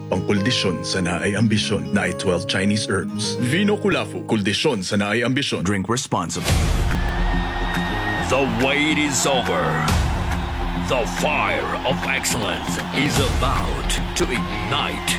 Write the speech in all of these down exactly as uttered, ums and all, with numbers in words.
Pangkoldisyon sa naay ambisyon, naay twelve Chinese herbs. Vino Kulafu, koldisyon sa naay ambisyon. Drink responsibly. The wait is over. The fire of excellence is about to ignite.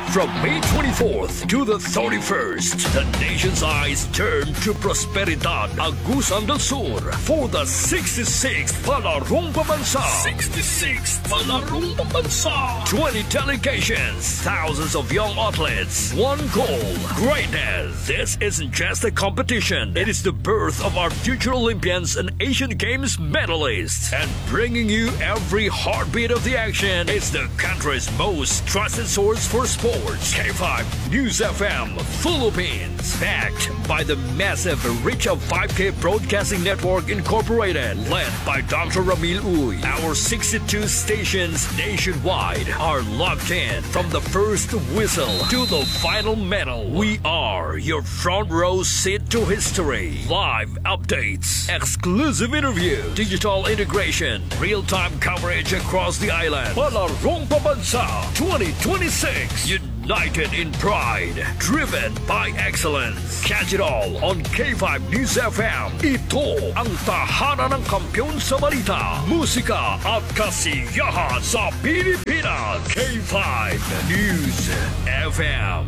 From May twenty-fourth to the thirty-first, the nation's eyes turn to Prosperidad, Agusan del Sur for the sixty-sixth Palarong Pambansa. Sixty-sixth Palarong Pambansa. Twenty delegations, thousands of young athletes, one goal, greatness. This isn't just a competition. It is the birth of our future Olympians and Asian Games medalists. And bringing you every heartbeat of the action is the country's most trusted source for sports, K five News F M Philippines. Backed by the massive reach of five K Broadcasting Network Incorporated, led by Doctor Ramil Uy. Our sixty-two stations nationwide are locked in from the first whistle to the final medal. We are your front row seat to history. Live updates, exclusive interview, digital integration, real-time coverage across the island. Palarong Pambansa twenty twenty-six. United in pride, driven by excellence. Catch it all on K five News F M. Ito ang tahanan ng kampiyon sa balita, musika at kasiyahan sa Pilipinas. K five News F M.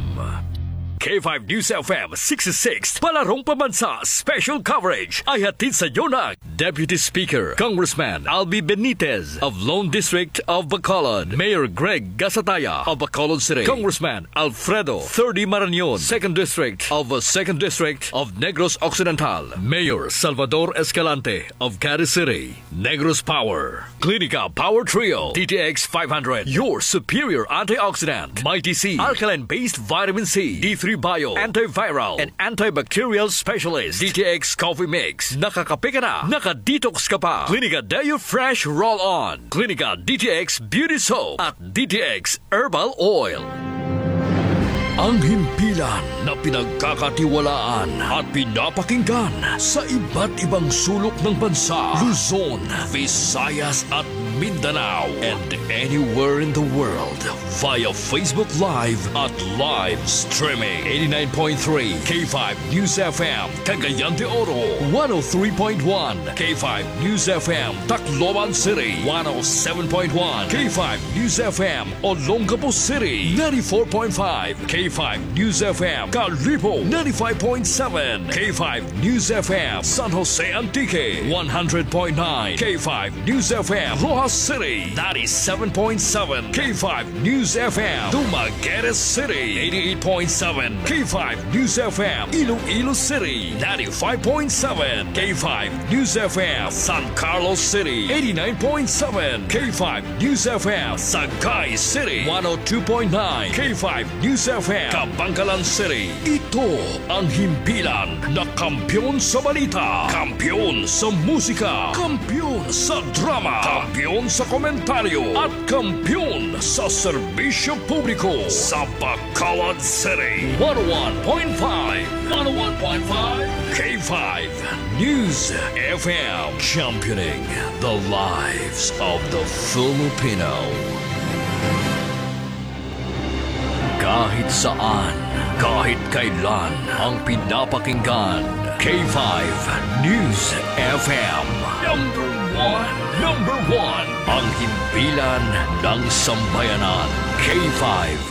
K five News F M sixty-six, Palarong Pambansa Special Coverage ay hatid sa inyo ng Deputy Speaker, Congressman Albi Benitez of Lone District of Bacolod, Mayor Greg Gasataya of Bacolod City, Congressman Alfredo Thirdy Marañon, Second District of, uh, Second District of Negros Occidental, Mayor Salvador Escalante of Caris City. Negros Power, Clinica Power Trio, D T X five hundred, your superior antioxidant, Mighty C, alkaline-based vitamin C, D three Bio, antiviral and antibacterial specialist, D T X Coffee Mix. Nakakape ka na, naka-detox ka pa. Clinica Deo Fresh Roll-On, Clinica D T X Beauty Soap, at D T X Herbal Oil. Ang himpilan na pinagkakatiwalaan at pinapakinggan sa iba't ibang sulok ng bansa, Luzon, Visayas, at Mindanao, and anywhere in the world via Facebook Live at live streaming. Eighty-nine point three K five News F M, Cagayan de Oro, one oh three point one K five News F M, Tacloban City, one oh seven point one K five News F M, Olongapo City, ninety-four point five K five News F M, Kalibo, ninety-five point seven K five News F M, San Jose Antique, one hundred point nine K five News F M, Roxas City, ninety-seven point seven K five News F M, Dumaguete City, eighty-eight point seven K five News F M, Iloilo City, ninety-five point seven K five News F M, San Carlos City, eighty-nine point seven K five News F M, Sagay City, one oh two point nine K five News F M, Kabankalan City. Ito ang himpilan na kampiyon sa balita, kampiyon sa musika, kampiyon sa drama, kampiyon sa komentaryo, at kampiyon sa serbisyo publiko sa Bacolod City. One oh one point five, one oh one point five K five News F M, championing the lives of the Filipino. Kahit saan, kahit kailan, ang pinapakinggan, K five News F M. Number one, number one, ang himpilan ng sambayanan, K five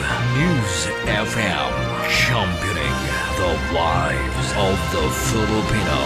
News F M, championing the lives of the Filipino.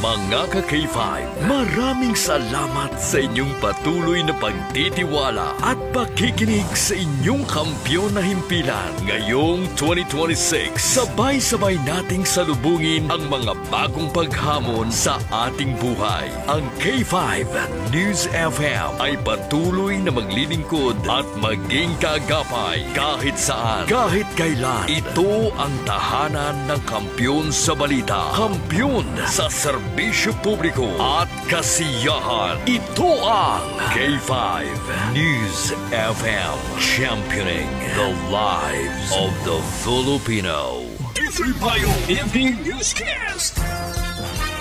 Mga ka-K five, maraming salamat sa inyong patuloy na pagtitiwala at pakikinig sa inyong kampiyon na himpilan. Ngayong twenty twenty-six, sabay-sabay nating salubungin ang mga bagong paghamon sa ating buhay. Ang K five News F M ay patuloy na maglilingkod at maging kaagapay kahit saan, kahit kailan. Ito ang tahanan ng kampiyon sa balita, kampiyon sa serbisyo publiko at kasiyahan. Ito ang K five News F M, championing the lives of the Filipino. D three Bio Evening Newscast.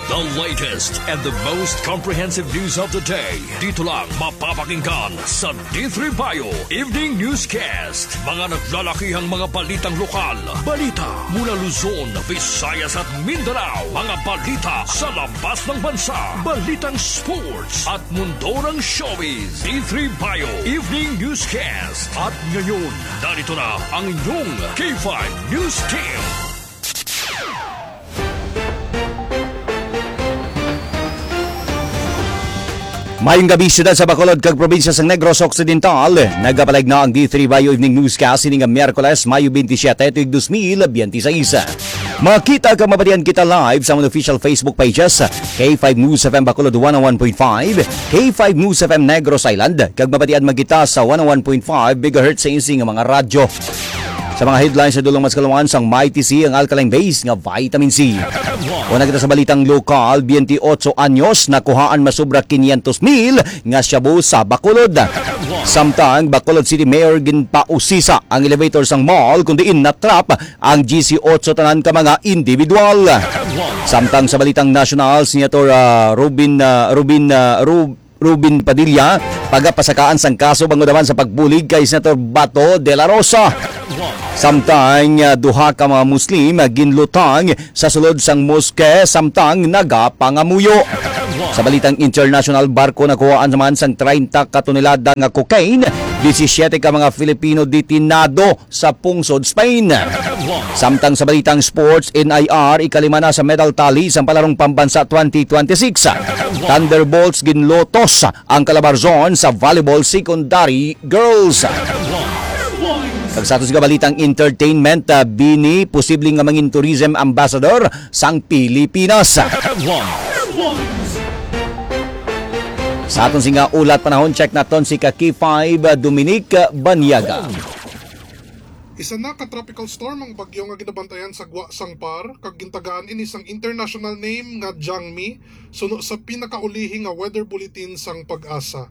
The latest and the most comprehensive news of the day. Dito lang mapapakinggan sa D three Bio Evening Newscast. Mga naglalakihang mga balitang lokal. Balita mula Luzon, Visayas at Mindanao. Mga balita sa labas ng bansa. Balitang sports at mundo ng showbiz. D three Bio Evening Newscast. At ngayon, narito na ang inyong K five News Team. Mayong gabi, siyudad sa Bacolod kag probinsya sang Negros Occidental. Nagapalayag na ang D three Bio Evening Newscast ini nga Miyerkules, Mayo twenty-seven, tuig dos mil biyente seis. Makita kag mabatian kita live sa mga official Facebook pages, K five News F M Bacolod one oh one point five, K five News F M Negros Island, kag mabatian man kita sa one oh one point five megahertz sa isi nga mga radyo. Sa mga headlines sa dulong mas kaluman sang Mighty C ang alkaline base nga vitamin C. Una kita sa balitang lokal, twenty-eight anyos, nakuhaan masobra quinientos mil nga shabu sa Bacolod. Samtang Bacolod City Mayor ginpausisa ang elevator sang mall kung diin na-trap ang G C eight tanan ka mga individual. Samtang sa balitang nasyonal, Senator, ah, Robin, ah, Robin, ah, Rub-, Robin Padilla, pagapasakaan sang kaso bangod naman sa pagbulig kay Senator Bato de la Rosa. Samtang, ah, duha ka mga Muslim, ah, ginlutang sa sulod sang moske samtang nagapangamuyo. Sa balitang international, barko nakuhaan naman sang treinta ka tonelada nga cocaine, disisiete ka mga Filipino detinado sa pungsod Spain. Samtang sa balitang sports, N I R, ikalima na sa medal tally sang Palarong Pambansa twenty twenty-six. Thunderbolts ginlutos ang Calabarzon sa volleyball secondary girls. Kag sa aton sa balitang entertainment, ah, Bini posible nga mangin tourism ambassador sang Pilipinas. Sa aton sini nga ulat panahon, check naton si ka K five, ah, Dominic Banyaga. Isa na ka tropical storm ang bagyo nga ginabantayan sa gwa sang PAR, kag gintagaan ini sang international name nga Jangmi, suno sa pinakaulihi nga weather bulletin sang PAGASA.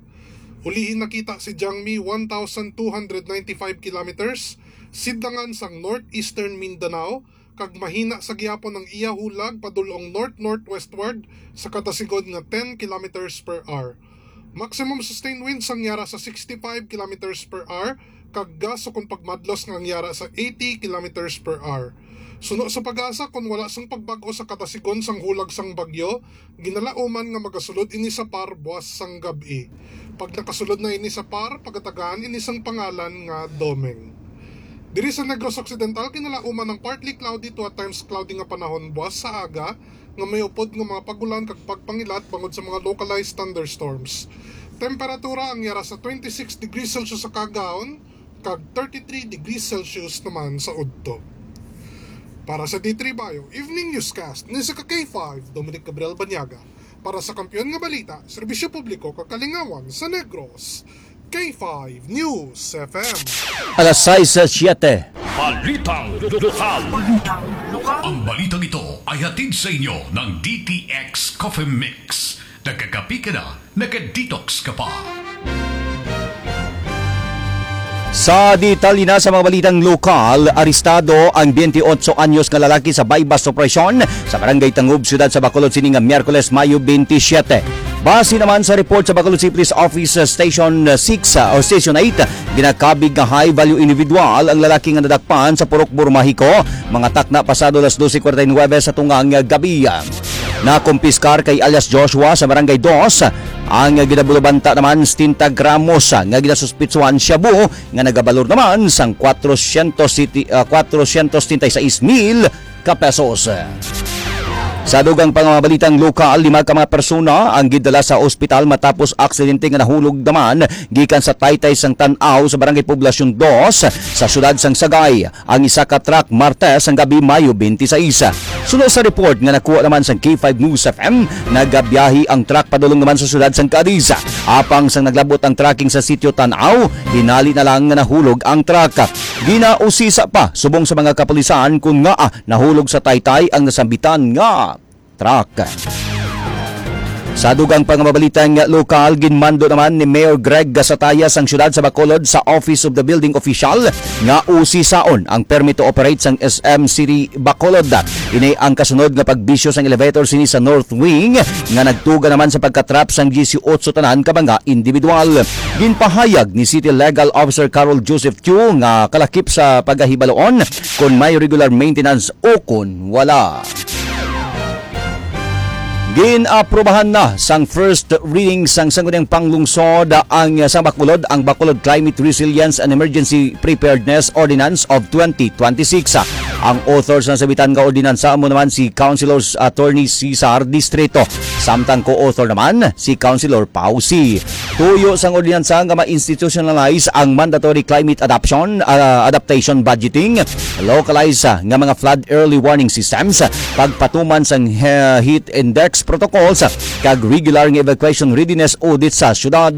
Ulihi nakita si Jangmi one thousand two hundred ninety-five kilometers sidlangan sang northeastern Mindanao, kag mahina sa gihapon ang iya hulag padulong north-northwestward sa kada sigon nga ten kilometers per hour. Maximum sustained winds ang yara sa sixty-five kilometers per hour, kag gust kon pagmadlos nga ang yara sa eighty kilometers per hour. Suno sa PAGASA, kon wala sang pagbag-o sa kada sigon sang hulag sang bagyo, ginalauman nga magasulod ini sa PAR buas sang gab-i. Pag nakasulod na ini sa PAR, pagatagaan ini sang pangalan nga Domeng. Diri sa Negros Occidental, ginalauman ang partly cloudy to at times cloudy nga panahon buas sa aga, nga may upod nga mga pag-ulan kag pagpangilat bangod sa mga localized thunderstorms. Temperatura ang yara sa twenty-six degrees Celsius sa kaagahon kag thirty-three degrees Celsius naman sa udto. Para sa D three Bio Evening Newscast, ni sa ka K five, Dominic Gabriel Banyaga. Para sa Kampiyon nga Balita, Serbisyo Publiko kag Kalingawan sa Negros, K five News F M. Alas sais sa siyete. Balitang lokal. Ang balitang ito ay hatid sa inyo ng D T X Coffee Mix. Nagkakapi ka na, naka-detox ka pa. Sa detalye na sa mga balitang lokal, arestado ang twenty-eight anyos nga lalaki sa buy-bust operasyon sa Barangay Tangub, siyudad sa Bacolod, sini nga Miyerkules, Mayo twenty-seven. Base naman sa report sa Bacolod City Police Office, uh, Station, uh, six, uh, o Station eight, ginakabig nga high-value individual ang lalaki nga nadakpan sa Purok Burmahico, mga takna pasado alas dose kwarenta y nuebe sa tungang gabi. Nakumpiskar kay alias Joshua sa Barangay Dos ang ginabulubanta naman setenta gramos nga ginasuspitsuhan shabu nga nagabalor naman sang kwatrocientos siti-, ah, kwatrocientos setenta y seis mil ka pesos. Sa dugang pa nga mga balitang lokal, lima ka mga persona ang gidala sa ospital matapos aksidente nga nahulog naman gikan sa taytay sang Tan-aw sa Barangay Poblacion Dos sa siyudad sang Sagay ang isa ka truck Martes sang gabi, Mayo twenty-six. Suno sa report nga nakuha naman sang K five News F M, nagabiyahe ang truck padulong naman sa siyudad sang Cadiz. Apang sang naglabot ang tracking sa sitio Tan-aw, hinali na lang nga nahulog ang truck. Ginausisa pa subong sa mga kapulisan kung ngaa nahulog sa taytay ang nasambitan nga truck. Sa dugang pa nga mga balitang lokal, ginmando naman ni Mayor Greg Gasataya sang siyudad sa Bacolod sa Office of the Building Official nga usisaon ang permit to operate sang S M City Bacolod. Ini ang kasunod nga pagbisyo sang elevator sini sa North Wing nga nagtuga naman sa pagkatrap sang diyesiyotso tanan ka mga individual. Ginpahayag ni City Legal Officer Carol Joseph Chu nga kalakip sa pagahibaloon kon may regular maintenance o kon wala. Gin-aprobahan na sang first reading sang Sangguniang Panglungsod ang, sa Bacolod, ang Bacolod Climate Resilience and Emergency Preparedness Ordinance of twenty twenty-six. Ang author sa nasabitan nga ordinansa amo naman si Councilor Attorney Cesar Distrito, samtang co-author naman si Councilor Pau Sy. Tuyo sang ordinansa nga ma-institutionalize ang mandatory climate adaptation, ah, adaptation budgeting, localize, ah, nga mga flood early warning systems, pagpatuman sang he-, heat index protocols, kag regular nga evacuation readiness audit sa syudad.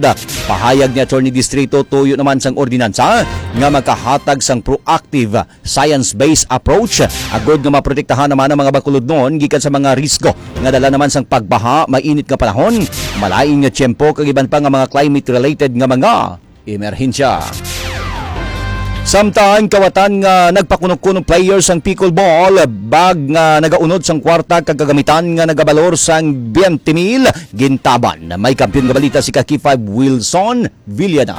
Pahayag ni Attorney Distrito, tuyo naman sang ordinansa nga makahatag sang proactive science-based approach agod nga maprotektahan naman ang mga Bacolodnon gikan sa mga risgo nga dala naman sang pagbaha, mainit nga panahon, malain nga tiyempo, kag iban pa nga mga climate-related nga mga emerhensya. Samtang kawatan nga nagpakunong-kunong player sang pickleball, bag nga nagaunod sang kwarta kag kagamitan nga nagabalor sang twenty mil, gintaban. May kampiyon nga balita si ka K five Wilson Villana.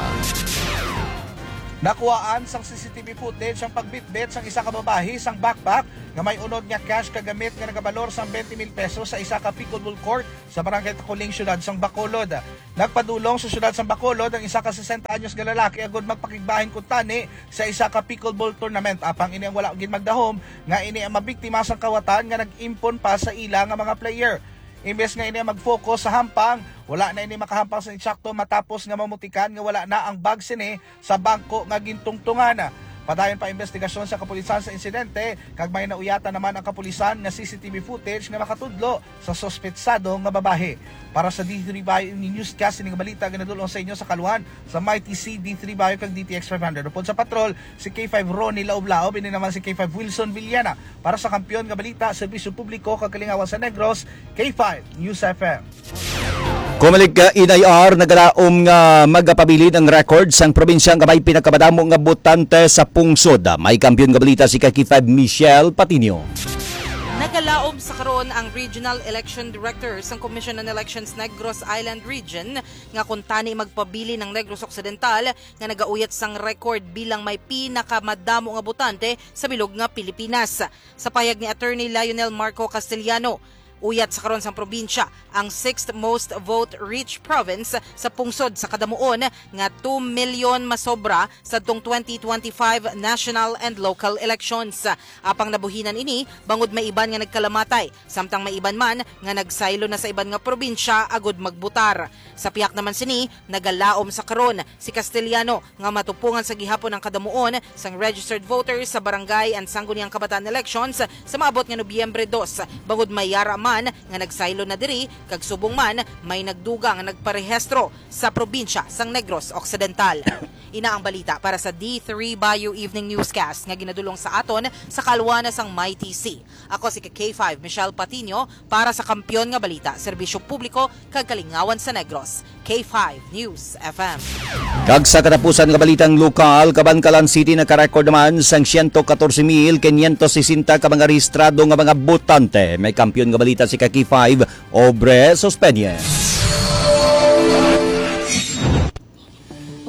Nakuhaan sang C C T V footage ang pagbitbit sang isa ka babayi sang backpack nga may unod nga cash kag gamit nga nagabalor sang twenty mil pesos sa isa ka pickleball court sa Barangay Taculing, siyudad sang Bacolod. Nagpadulong sa siyudad sang Bacolod ang isa ka sesenta anyos nga lalaki agud magpakigbahin kuntani sa isa ka pickleball tournament, apang ini ang wala gid magdahom nga ini ang mabiktima sang kawatan nga nag-impon pa sa ila nga mga player. Imbes nga ini ang mag-focus sa hampang, wala na ini makahampang sa insakto matapos nga mamutikan nga wala na ang bag sini sa bangko nga gintungtungan. Padayon pa ang investigasyon sa kapulisan sa insidente, kag may nauyatan naman ang kapulisan nga C C T V footage nga makatudlo sa suspetsado nga babayi. Para sa D three Bayo Evening Newscast, ini nga balita ginadul-ong sa inyo sa kaluhan sa Mighty C, D three Bayo kag D T X five hundred. Upod sa patrol, si K five Ronnie Laob-Laob, ini naman si K five Wilson Villana. Para sa kampiyon nga balita, serbisyo publiko kag kalingawan sa Negros, K five News F M. Comelec, uh, N I R nagalaom nga magapabilin ang record sang probinsya nga may pinakamadamo nga botante sa pungsod. May kampiyon nga balita si ka K five Michelle Patinio. Nagalaom sa karon ang Regional Election Director sang Commission on Elections Negros Island Region nga kuntani magpabilin ang Negros Occidental nga nagauyat sang record bilang may pinakamadamo nga botante sa bilog nga Pilipinas. Sa pahayag ni Attorney Lionel Marco Castellano, uyat sa karon sang probinsya ang sixth most vote-rich province sa pungsod sa kadamuon nga two million masobra sadtong twenty twenty-five national and local elections. Apang nabuhinan ini bangod may iban nga nagkalamatay, samtang may iban man nga nagsaylo na sa iban nga probinsya agud magbutar. Sa pihak naman sini, nagalaom sa karon si Castellano nga matupongan sa gihapon ang kadamuon sang registered voters sa barangay and sangguniang kabataan elections sa maabot nga Nobyembre dos, bangod may yara man nga nagsaylo na diri kag subong man may nagdugang nga nagparehistro sa probinsya sang Negros Occidental. Ina ang balita para sa D three Bayo Evening Newscast nga ginadul-ong sa aton sa kalwana sang Mighty C. Ako si K five Michelle Patino para sa Kampiyon nga Balita, Serbisyo Publiko kag Kalingawan sa Negros, K five News F M. Kag sa katapusan nga balitang lokal, Kabankalan City nakarecord naman sang siyento katorse mil kinyentos sesenta ka mga rehistrado nga mga botante. May kampiyon nga balita si ka K five Obre Sospeñez.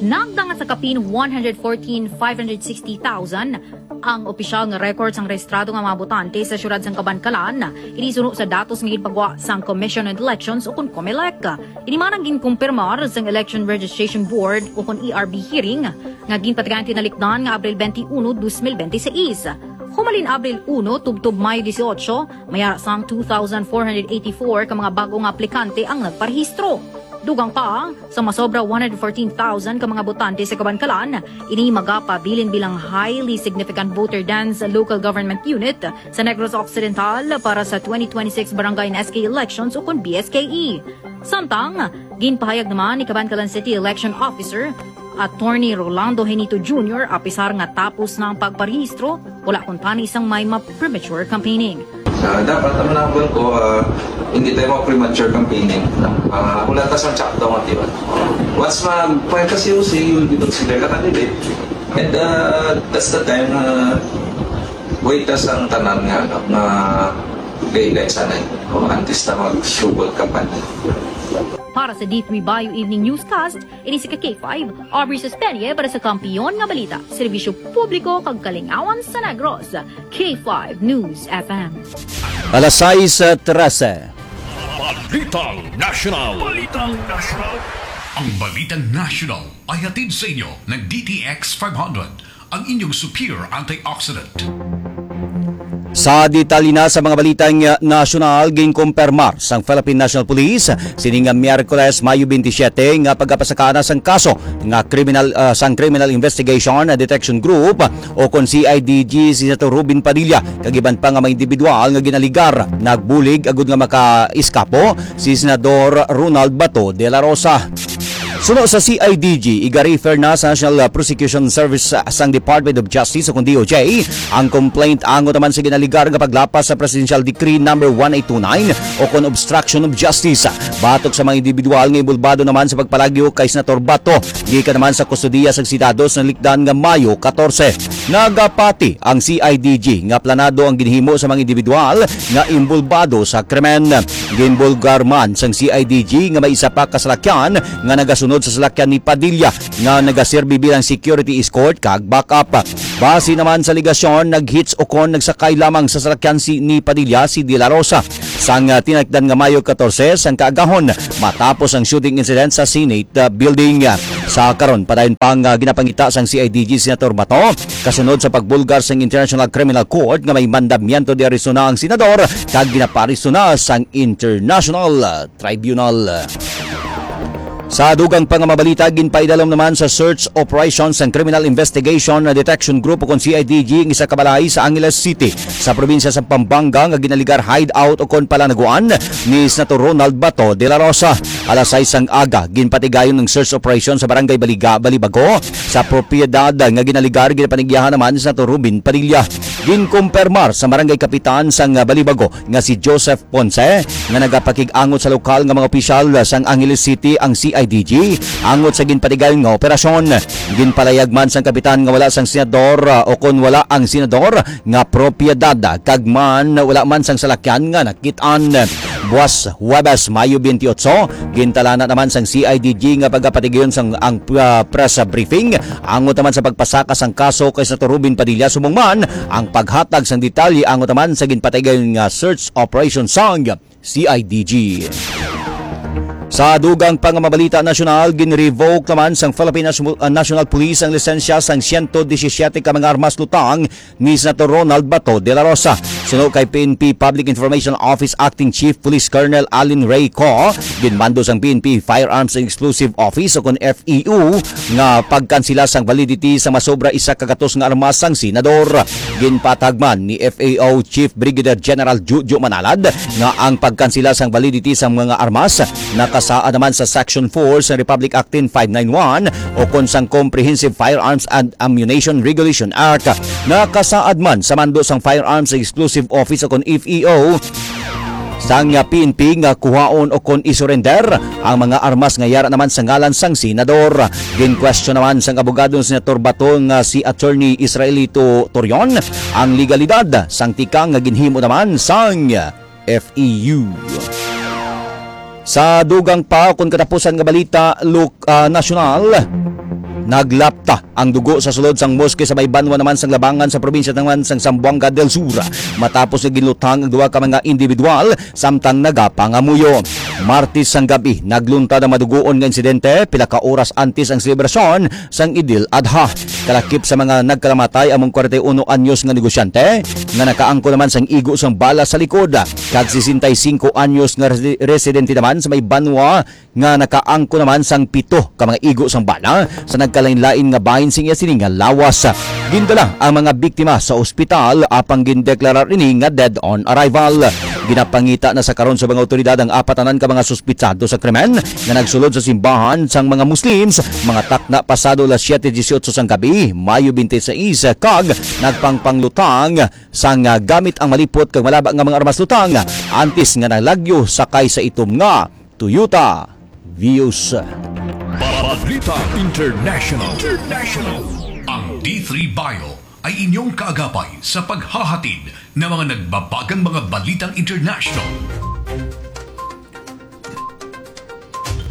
Nagdangat sa kapin one hundred fourteen five hundred sixty thousand ang opisyal nga record sang rehistrado nga mga botante sa siyudad sang Kabankalan. Ini suno sa datos nga ginpagwa sang Commission on Elections ukon Comelec. Ini man ang ginkumpirmar sang Election Registration Board ukon E R B hearing nga ginpatigayon tinalikdan nga Abril twenty-one, dos mil bente seis. Humalin Abril uno tubtob Mayo dieciocho, may ara sang two thousand four hundred eighty-four ka mga bag-o nga aplikante ang nagparehistro. Dugang pa, sa masobra one hundred fourteen thousand ka mga botante sa Kabankalan, ini magapabilin bilang highly significant voter dense local government unit sa Negros Occidental para sa twenty twenty-six Barangay and S K elections ukon B S K E. Samtang, ginpahayag naman ni Kabankalan City Election Officer Attorney Rolando Henito Junior, apisar nga tapos na ang pagparehistro, wala kuntani sang may ma-, premature campaigning. Ah, dapat, ang nabal ko, ah, hindi tayo mag-premature campaigning. Ah, wala ta sang chapter nga tiwan. Once mag-, pwede kasi yung say, you will be considered a candidate. And, ah, that's the time na wait ta sang tanan nga, ano, nga guidelines sanay. O, antes na mag-sugot kampanya. Para sa D three Bio Evening Newscast, ini si ka K five, Aubrey Suspenye para sa Kampiyon nga Balita, Serbisyo Publiko kag Kalingawan sa Negros, K five News F M. Alas sais trese. Balitang National. Balitang National. Ang Balitang National ay hatid sa inyo ng D T X five hundred, ang inyong superior antioxidant. Sa detalye na sa mga balitang nasyonal, ginkumpirmar sang Philippine National Police sining nga Miyerkules, Mayo twenty-seven, nga pagapasakana sang kaso nga criminal, ah, sang Criminal Investigation and Detection Group o kon C I D G si Senator Robin Padilla kag iban pa nga mga individual nga ginaligar nagbulig agud nga makaiskapo si Senador Ronald Bato de la Rosa. Suno sa C I D G, iga-refer na sa National Prosecution Service sang Department of Justice o kon D O J ang complaint angot naman sa ginaligar nga paglapas sa Presidential Decree number one eight two nine o kon obstruction of justice batok sa mga individual nga inbolbado naman sa pagpalagyo kay Senator Bato gikan naman sa kustodiya sang Senado sa nalikdan nga Mayo katorse. Nagapati ang C I D G nga planado ang ginhimo sa mga individual nga inbolbado sa krimen. Ginbulgar man sang C I D G nga may isa pa ka salakyan nga nagasunod sa salakyan ni Padilla nga nagaserbi bilang security escort kag backup. Base naman sa alegasyon, nag-hitch o kon nagsakay lamang sa salakyan si ni Padilla si De La Rosa sang, ah, tinalikdan nga Mayo katorse sang kaagahon matapos ang shooting incident sa Senate, ah, building. Sa karon, padayon pang, ah, ginapangita sang C I D G Senator Bato kasunod sa pagbulgar sang International Criminal Court nga may mandamiento de arresto na ang senador kag ginapaaresto na sang International, ah, Tribunal. Sa dugang pa nga mabalita, ginpaidalom naman sa search operation sang Criminal Investigation and Detection Group o kon C I D G ang isa ka balay sa Angeles City sa probinsya sa Pampanga nga ginaligar hideout o kon palanaguan ni Senator Ronald Bato de la Rosa. Alas sais sang aga, ginpatigayon ang search operation sa Barangay Baliga, Balibago sa propiedad nga ginaligar. Ginapanigyahan naman ni Senator Robin Padilla. Ginkumpirmar sa Barangay Kapitan sang Balibago nga si Joseph Ponce nga nagapakig-angot sa lokal nga mga opisyal sang Angeles City ang C I D G angot sa ginpatigayon nga operasyon. Ginpalayag man sang kapitan nga wala sang senador, ah, o kon wala ang senador nga propiedad, kag man wala man sang salakyan nga nakit-an. Buwas Huwebes, Mayo twenty-eight, gintalana naman sang C I D G nga pagapatigayon sang ang, ah, press briefing angot naman sa pagpasaka sang kaso kay Senator Robin Padilla, subong man ang paghatag sang detalye angot naman sa ginpatigayon nga search operation sang C I D G. Sa dugang pa nga mabalita nasyonal, ginrevoke naman sang Philippine Nas-, ah, National Police ang lisensya sang siyento disisiete ka mga armas lutang ni Senator Ronald Bato de la Rosa. Suno kay P N P Public Information Office Acting Chief Police Colonel Alin Ray Co, ginmando sang P N P Firearms and Explosive Office o kon F E O nga pagkansela sang validity sa masobra isa ka gatos nga armas sang senador. Ginpatag man ni F E O Chief Brigadier General Jojo Manalad nga ang pagkansela sang validity sang mga armas nakasaad naman sa Section four sa Republic Act ten five nine one o kon sang Comprehensive Firearms and Ammunition Regulation Act. Nakasaad man sa mando sang Firearms Exclusive Office o kon F E O sang P N P nga kuhaon o kon isurrender ang mga armas nga yara naman sa ngalan sang senador. Gin-question naman sang abogado ni Senator Bato nga si Attorney Israelito Torion ang legalidad sang tikang nga ginhimo naman sang F E U. Sa dugang pa, kon katapusan nga balita, look, ah, nasyonal, naglapta ang dugo sa sulod sang moske sa may banwa naman sang Labangan sa probinsya naman sang Zamboanga del Sur, matapos nga ginluthang ang duha ka mga individual samtang nagapangamuyo. Martes sang gabi, nagluntad ang madugoon nga insidente pila ka oras antes ang selebrasyon sang Idil Adha. Kalakip sa mga nagkalamatay among kwarenta y uno anyos nga negosyante nga nakaangko naman sang igo sang bala sa likod, kag sesenta y singko anyos nga resi-, residente naman sa may banwa nga nakaangko naman sang pito ka mga igo sang bala sa nagkalainlain nga bahin sing iya sini nga lawas. Gindala ang mga biktima sa ospital apang gindeklarar ini nga dead on arrival. Ginapangita na sa karon sa mga awtoridad ang apatanan ka mga suspitsado sa krimen nga nagsulod sa simbahan sang mga Muslims, mga takna pasado alas siete dieciocho sang gabi, Mayo twenty-six, kag nagpangpanglutang sang, ah, gamit ang malipot kag malaba nga mga armas lutang antes nga nalagyo sakay sa itom nga Toyota Vios. Balita International. International. Ang D three Bio ay inyong kaagapay sa paghahatid ng mga nagbabagang mga balitang international.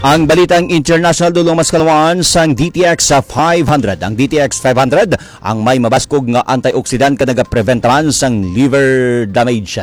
Ang balitang international, dulong mas kalawan sang D T X five hundred. Ang D T X five hundred ang may mabaskog nga antioxidant nga nagaprevent man sang liver damage.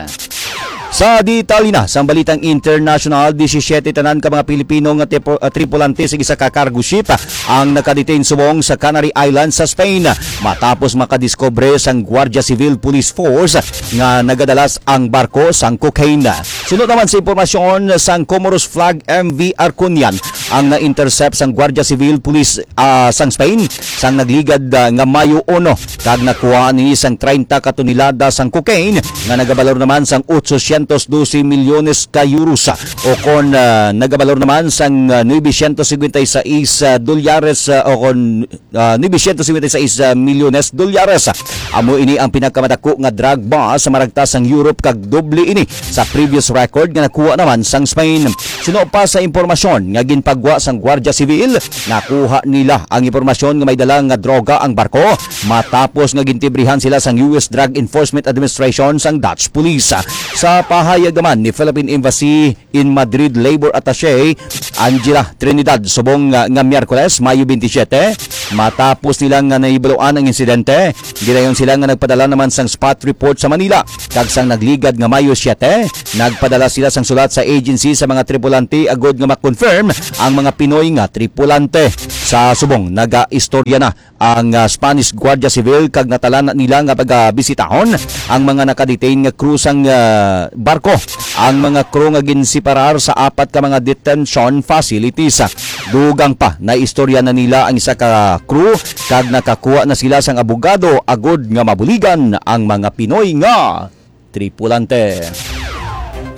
Sa detalye na sang balitang international, disisiete tanan ka mga Pilipino nga tipo- ah, tripulante sa isa ka cargo ship ang nakadetain subong sa Canary Islands sa Spain, matapos makadiskubre sang Guardia Civil Police Force nga nagadalas ang barko sang cocaine. Suno naman sa impormasyon sang Comoros Flag M V Arconian ang na-intercept sang Guardia Civil Police, ah, sang Spain sang nagligad, ah, nga Mayo uno, kag nakuha ni sang treinta ka tonelada sang cocaine nga nagabalor naman sang otsosyentos dose milyones ka euros, o kon, ah, nagabalor naman sang, ah, nuebesyentos singkwenta y seis, ah, dolyares, ah, o kon, ah, nuebesyentos singkwenta y seis milyones dolyares. Amo ini ang pinakamadako nga drug bust sa maragtas sang Europe, kag doble ini sa previous record nga nakuha naman sang Spain. Suno pa sa impormasyon nga ginpagwa sang Guardia Civil, nakuha nila ang impormasyon nga may dala nga droga ang barko matapos nga gintibrihan sila sang U S Drug Enforcement Administration sang Dutch Police. Sa pahayag naman ni Philippine Embassy in Madrid Labor Attaché Angela Trinidad subong nga, nga Miyerkules, Mayo twenty-seven, matapos nila nga nahibaluan ang insidente, gidayon sila nga nagpadala naman sang spot report sa Manila, kag sang nagligad nga Mayo siete, nagpadala sila sang sulat sa agency sa mga tripulante agud nga ma-confirm ang mga Pinoy nga tripulante. Sa subong, nagaistorya na ang, ah, Spanish Guardia Civil kag natalan nila nga pagabisitahon ang mga nakadetain nga crew sang, ah, barko. Ang mga crew nga ginseparar sa apat ka mga detention facilities. Dugang pa, naistorya na nila ang isa ka crew kag nakakuha na sila sang abogado agud nga mabuligan ang mga Pinoy nga tripulante.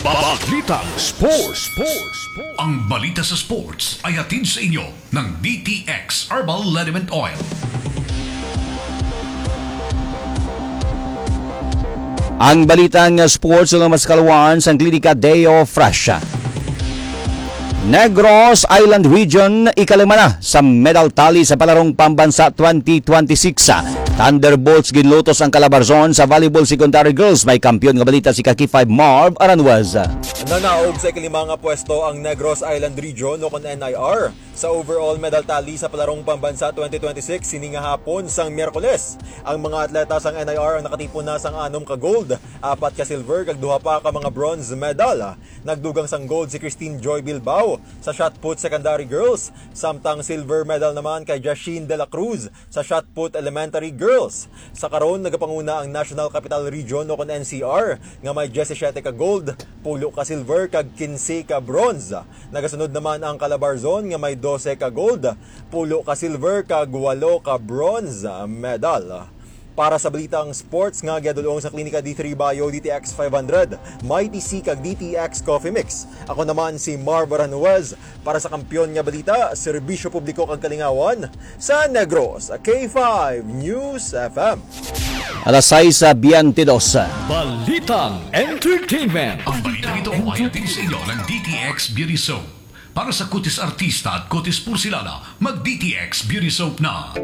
Balitang Sports. Ang balita sa sports ay hatid sa inyo ng D T X Herbal Liniment Oil. Ang balitang sports nga mas kalawan sang Klinika Deo Fresh. Negros Island Region, ikalima na sa medal tally sa Palarong Pambansa twenty twenty-six. Thunderbolts ginlutos ang Calabarzon sa volleyball secondary girls. May kampiyon nga balita si Kaki five Marv Aranjuez. Nanaog sa ikalima nga pwesto ang Negros Island Region, o kon N I R, sa overall medal tally sa Palarong Pambansa twenty twenty-six sini nga hapon sang Miyerkules. Ang mga atleta sang N I R ang nakatipon na sang anom ka gold, apat ka silver, kag duha pa ka mga bronze medal. Nagdugang sang gold si Christine Joy Bilbao sa shot put secondary girls, samtang silver medal naman kay Jasheen De La Cruz sa shot put elementary girls. Sa karon, nagapanguna ang National Capital Region, o kon N C R, nga may diyesisiyete ka gold, pulo ka silver, kag kinse ka bronze. Nagasunod naman ang Calabarzon nga may dose ka gold, pulo ka silver, kag walo ka bronze medal. Para sa balitang sports nga giadulong sa Klinika D three Bio, D T X five hundred, Mighty C kag D T X Coffee Mix, ako naman si Marv Aranjuez. Para sa kampiyon nga balita, serbisyo publiko kag kalingawan sa Negros, K five News F M. Alas sais sa biyente dos. Balitang entertainment. Ang balita ito ay hatid sa inyo ng D T X Beauty Soap. Para sa kutis artista at kutis porselana, mag D T X Beauty Soap na.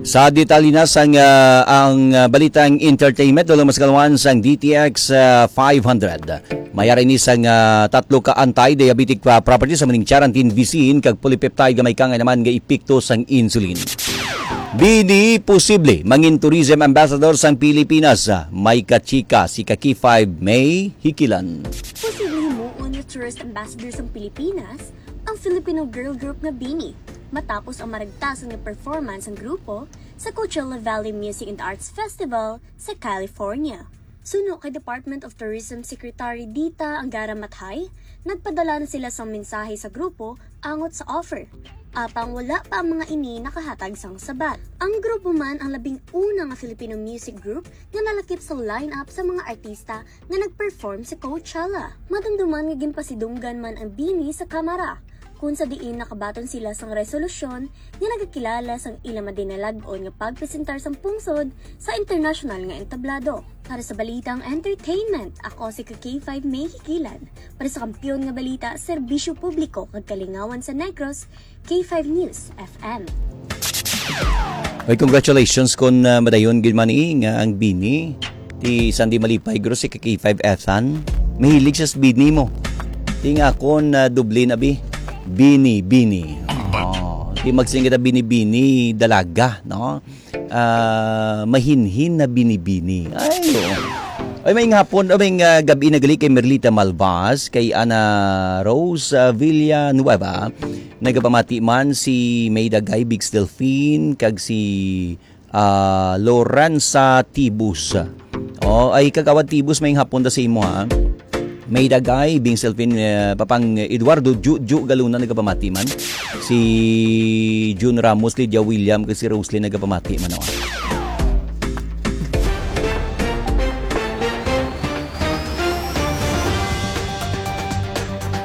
Sa detalye na sang, ah, ang, ah, balitang entertainment, dulong mas kalawan sang D T X, ah, five hundred. Mayari ni sang, ah, tatlo ka anti-diabetic pa properties, sa maning charantin, visin, kag polypeptide nga may kaangay naman nga epekto sang insulin. Bini posible mangin tourism ambassador sang Pilipinas, ah, may kachika si Kaki five May Hikilan. Posible himuon nga tourist ambassador sang Pilipinas ang Filipino girl group nga Bini, matapos ang maragtasan nga performance sang grupo sa Coachella Valley Music and Arts Festival sa California. Suno kay Department of Tourism Secretary Dita Angara Mathay, nagpadala na sila sang mensahe sa grupo angot sa offer. Apang wala pa ang mga ini nakahatag sang sabat. Ang grupo man ang labing una nga Filipino music group nga nalakip sa lineup sa mga artista nga nag-perform sa Coachella. Madumduman nga ginpasidunggan man ang BINI sa Kamara, kung sa diin nakabaton sila sang resolusyon nga nagakilala sang ila madinalag-on nga pagpresentar sang pungsod sa internasyonal nga entablado. Para sa balitang entertainment, ako si ka K five May Higilan. Para sa Kampiyon nga Balita, Serbisyo Publiko kag Kalingawan sa Negros, K five News F M. Oy, congratulations kon, ah, madayon gid man ni nga ang BINI ti Sandy Malipay, guro si ka K five Ethan. Mahilig siya sa BINI mo. Ti nga akon, ah, doble na bi. BINI, BINI. Oh, ti magsiling kita BINI, BINI, dalaga, no? Ah, mahinhin na binibini. Ay, oo. Ay, may hapon, ay, may, ah, gabi na gali kay Merlita Malvas, kay Ana Rose, ah, Villanueva. Nagapamati man si May Dagay, Big Delfin, kag si, ah, Lorenza Tibus. Oh, ay, Kagawad Tibus, may hapon da sa imo, ha? May Dagay, Bing Selfin, eh, Papang Eduardo, Ju, Ju Galuna nagapamati man. Si Jun Ramos, Lydia William, kag si Roslyn nagapamati man, oh.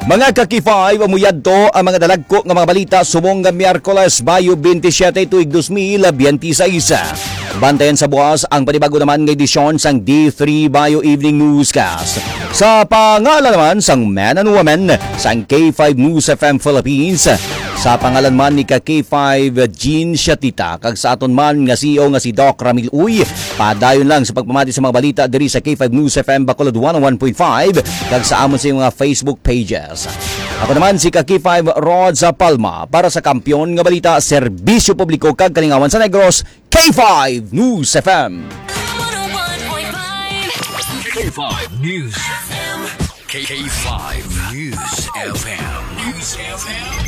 Mga ka-K five, amo yadto ang mga dalagko nga mga balita subong nga Miyerkules, Bayo twenty-seven, tuig dos mil biyente seis. Bantayan sa buwas ang panibago naman nga edisyon sang D three Bayo Evening Newscast. Sa pangalan naman sang men and women sang K five News F M Philippines, sa pangalan man ni ka K five Jean Shatita, kag sa aton man nga C E O nga si Doc Ramil Uy, padayon lang sa pagpamati sa mga balita diri sa K five News F M Bacolod one oh one point five, kag sa amon sa mga Facebook pages. Ako naman si ka K five Rod sa Palma para sa Kampiyon nga Balita, Serbisyo Publiko kag Kalingawan sa Negros, K five News F M. K five News. K five News F M. News F M.